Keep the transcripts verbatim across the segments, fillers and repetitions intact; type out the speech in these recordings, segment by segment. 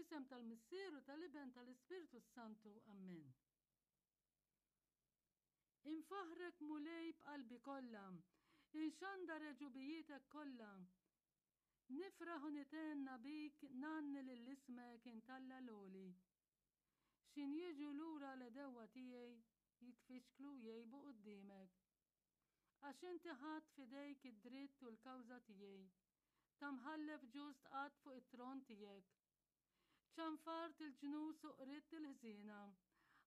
Fl-isem tal-Missier u tal-Iben tal-Ispirtu s-Santu. Ammen. Infaħħrek Mulej b'qalbi kollha, inxandar għeġubijietek kollha. Nifraħ u nithenna bik, ngħanni lil ismek int Alla l-Għoli. X'ħin jiġu lura l-għedewwa tiegħi jitfixklu u jgħibu quddiemek. Għax inti ħadt f'idejk id-dritt u l-kawża tiegħi. Ta' mħallef ġust qgħadt fuq it-tron tiegħek. Ċanfart il-ġnus u qridt il-ħżiena,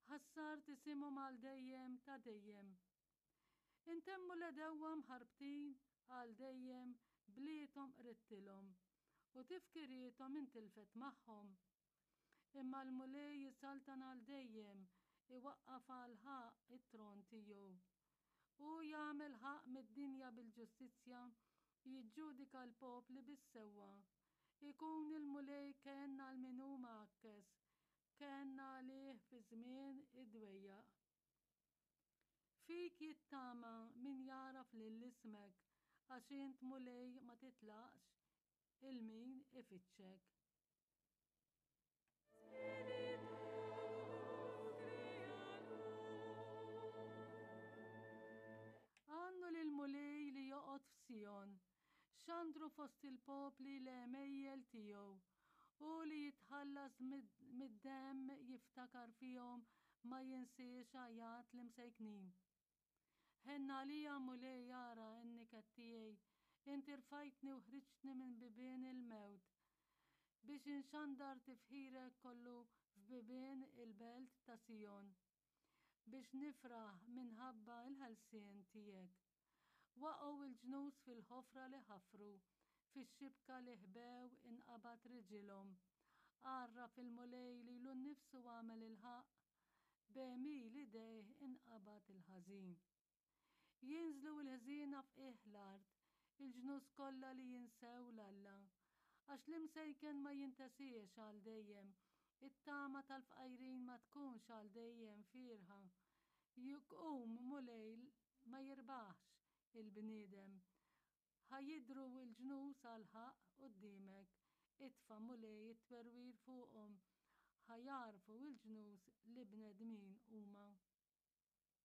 ħassart isimhom għal dejjem ta' dejjem. Intemmu l-għedewwa mħarbtin għal dejjem, bliethom qridtilhom, u tifkiriethom intilfet magħhom. Imma l-Mulej jisaltan għal dejjem, iwaqqaf għall-ħaqq it-tron tiegħu. Hu jagħmel ħaqq mid-dinja bil-ġustizzja, jiġġudika l-popli bis-sewwa. Ikun il-Mulej kenn għal min hu mgħakkes, kenn għalih fi żmien id-dwejjaq. Fik jittama min jagħraf lil ismek, għax int Mulej ma titlaqx 'il min ifittxek. Għannu lill-Mulej li joqgħod f'Sijon, xandru fost il-popli l-għemejjel tiegħu. Hu li jitħallas mid-demm jiftakar fihom ma jinsiex għajat l-imsejknin. Ħenn għalija Mulej ara n-niket tiegħi, inti rfajtni u ħriġtni minn bibien il-mewt, biex inxandar tifħirek kollu f'bibien il-belt ta' Sijon, biex nifraħ minħabba l-ħelsien tiegħek. Waqgħu l-ġnus fil-ħofra li ħafru, fix-xibka li ħbew inqabad riġilhom. Għarraf il-Mulej lilu nnifsu għamel il-ħaqq, b'għemil idejh inqabad il-ħażin. Jinżlu l-ħżiena f'qiegħ l-art, il-ġnus kollha li jinsew 'l Alla. Għax l-imsejken ma jintesiex għal dejjem, it-tama tal-fqajrin ma tkunx għal dejjem fierħa. Jqum, Mulej, ma jirbaħx il-bniedem. Ħa jidhru l-ġnus għall-ħaqq quddiemek, itfa', Mulej, it-twerwir fuqhom, ħa jagħrfu l-ġnus li bnedmin huma.